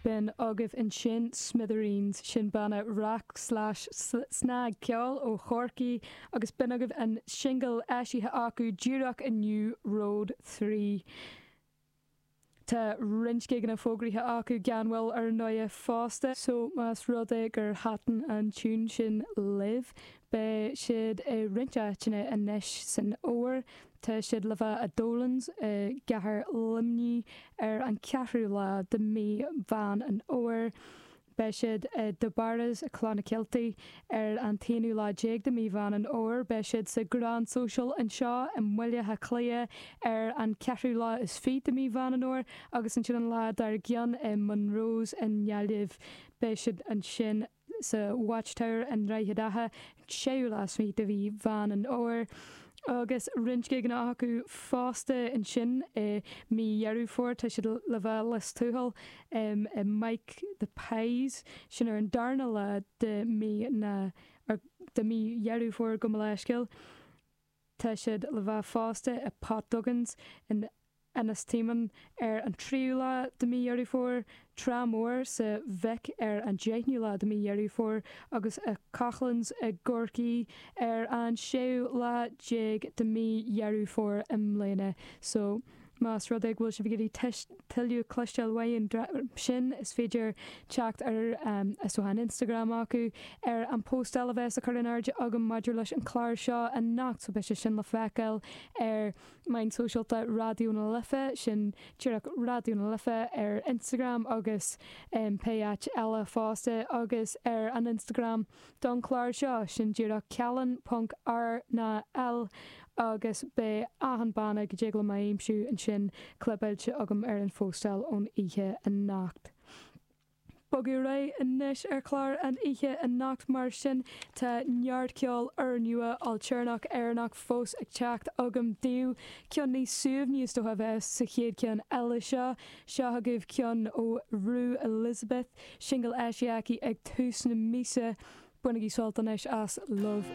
B'in agaibh ansin Smithereens, sin banna rac slash snagcheoil ó Chorcaigh agus b'in agaibh an singil eisithe acu díreach inniu, Road 3. Tá roinnt gigeanna fógraithe acu gan mhoill ar ndóighe fosta, so más rud é gur thaitin an tiún sin libh, beidh siad i roinnt áiteanna anois san fhómhar. Tá siad le bheith i Dolan's i gcathair Luimnigh ar an 4ú lá de mhí Mheán an Fhómhair. Beidh siad i De Barra's i Clonakilty ar an t-aonú lá déag de mhí Mheán an Fhómhair. Beidh siad sa Grand Social anseo i mBaile Átha Cliath ar an ceathrú lá is fiche de mhí Mheán an Fhómhair agus ansin an lá dár gcionn i Monroe's i nGaillimh. Beidh siad ansin sa Watchtower i nDroichead Átha, an séú lá is fiche de mhí Mheán an Fhómhair. Agus roinnt gigeanna acu fosta ansin i mí Dheireadh Fómhair. Tá siad le bheith i Lios Tuathail i Mike the Pies, sin ar an darna lá de mí na, de mí Dheireadh Fómhair gabh mo leithscéal. Tá siad le bheith fosta i Pat Duggan's in Ennistymon ar an tríú lá de mí Dheireadh Fómhair, Trá Mhór sa Mhic ar an deichniú lá de mí Dheireadh Fómhair agus i Coughlan's i gCorcaigh ar an séú lá déag de mí Dheireadh Fómhair i mbliana. So, más rud é go bhfuil sibh ag iarraidh tuilleadh cloisteáil uaidh an dream sin, is féidir teacht ar is dócha an Instagram acu ar an póstáil a bheas á cur in airde agam maidir leis an chlár seo anocht so beidh sé sin le feiceáil ar meáin sóisialta Raidió na Life, sin díreach Raidió na Life ar Instagram agus pé áit eile fosta, agus ar an Instagram don chlár seo, sin díreach cealann ponc R ná L agus beidh achan banna go dtig liom a aimsiú ansin clibeáilte agam ar an phóstáil ón oíche anocht. Bogadh ar aghaidh anois ar chlár an oíche anocht mar sin tá neart ceol úrnua ailtéarnach Éireannach fós ag teacht agam daoibh. Ceann níos suaimhní is dócha a bheas sa chéad cheann eile seo. Seo agaibh ceann ó Rue Elizabeth, singil eisithe aici ag tús na míosa. Bainigí sult anois as Love.